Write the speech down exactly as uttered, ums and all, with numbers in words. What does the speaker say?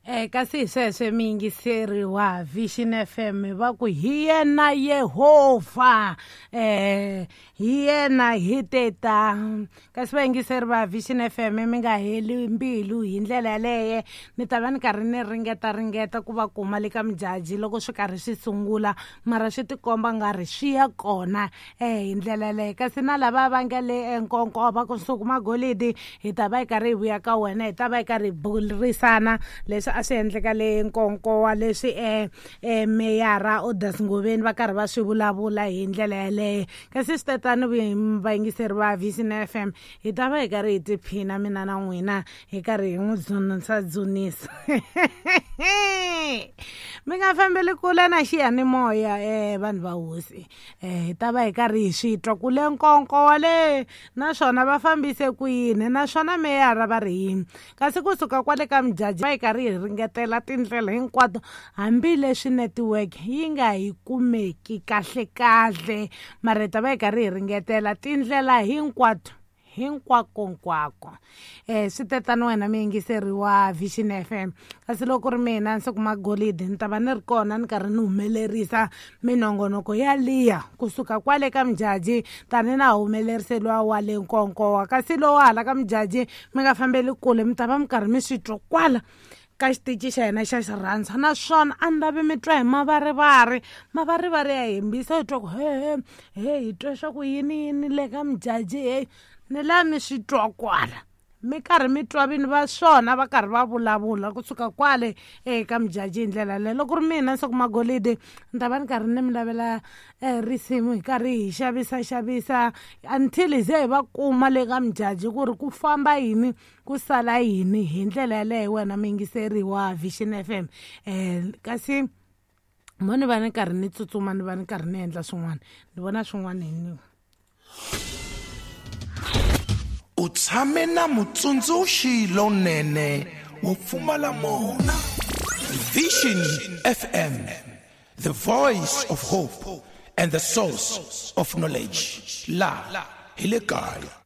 Eh kasi hi sweswe miyingiseri wa Vision F M va ku hi yena Yehovha eh hi yena hi teta kasi vayingiseri va Vision F M mi nga heli mbilu hi ndlela yaleyo ni ta va ni karhi ni ringeta ringeta ku va kuma le ka Mujaji loko swi karhi swi sungula mara swi tikomba nga ri swi ya kona eh hi ndlela yaleyo kasi na lava va nga le Nkonko va kusuka Magolidi hi ta va hi karhi hi vuya ka wena hi ta va hi karhi hi burisana leswi a swi endleka le Nkonko wa leswi eh eh meyara Odas Ngoveni va karhi va swi vulavula hi ndlela yaleyo kasi swi tatani vayingiseri va Vision F M hi ta va hi karhi hi tiphina mina na n'wina hi karhi hi n'wi dzunisa dzunisa mi nga fambeli kule na xiyanimoya eh vanhu va hosi eh hi ta va hi karhi hi swi twa ku le Nkonko wa le naswona va fambise ku yini naswona meyara va ri yini kasi kusuka kwale ka Mujaji va hi karhi hi ringetela tindlela hinkwato hambileswi network yi nga hi kumeki kahle kahle mara hi ta va hi karhi hi ringetela tindlela hinkwato hinkwako nkwako eh swi tetani wena miyingiseri wa Vision F M kasi loko ri mina ndzi kuma golidi ni ta va ni ri kona ni karhi ni humelerisa minongonoko yaliya kusuka kwale ka Mujaji tani na humeleriseliwa wa le Nkonkowa kasi lowu hala ka Mujaji mi nga fambeli kule mi ta va mi karhi mi swi twa kwala ka xitichi xa hina xa xirhandza naswona a ni lavi mi twa hi mavarivari mavarivari ya hembisa hi twa ku he he hi twa swa ku yini yini le ka Mujaji he ni laha mi swi twa kwala mi karhi mi twa vini va swona va karhi va vulavula kusuka kwale eka Mujaji hi ndlela leyo loko ri mina Nsuku Magolidi ni ta va ni karhi ni mi lavela risimu hi karhi hi xavisa xavisa until hi ze hi va kuma le ka Mujaji ku ri ku famba yini ku sala yini hi ndlela yaleyo wena miyingiseri wa Vision F M eh kasi mo ni va ni karhi ni tsutsuma ni va ni karhi ni endla swin'wana ni vona swin'wana hi ni u tshame na mutsundzuxi lonene wo pfumala mona. Vision F M, the voice of hope and the source of knowledge. La hi le kaya.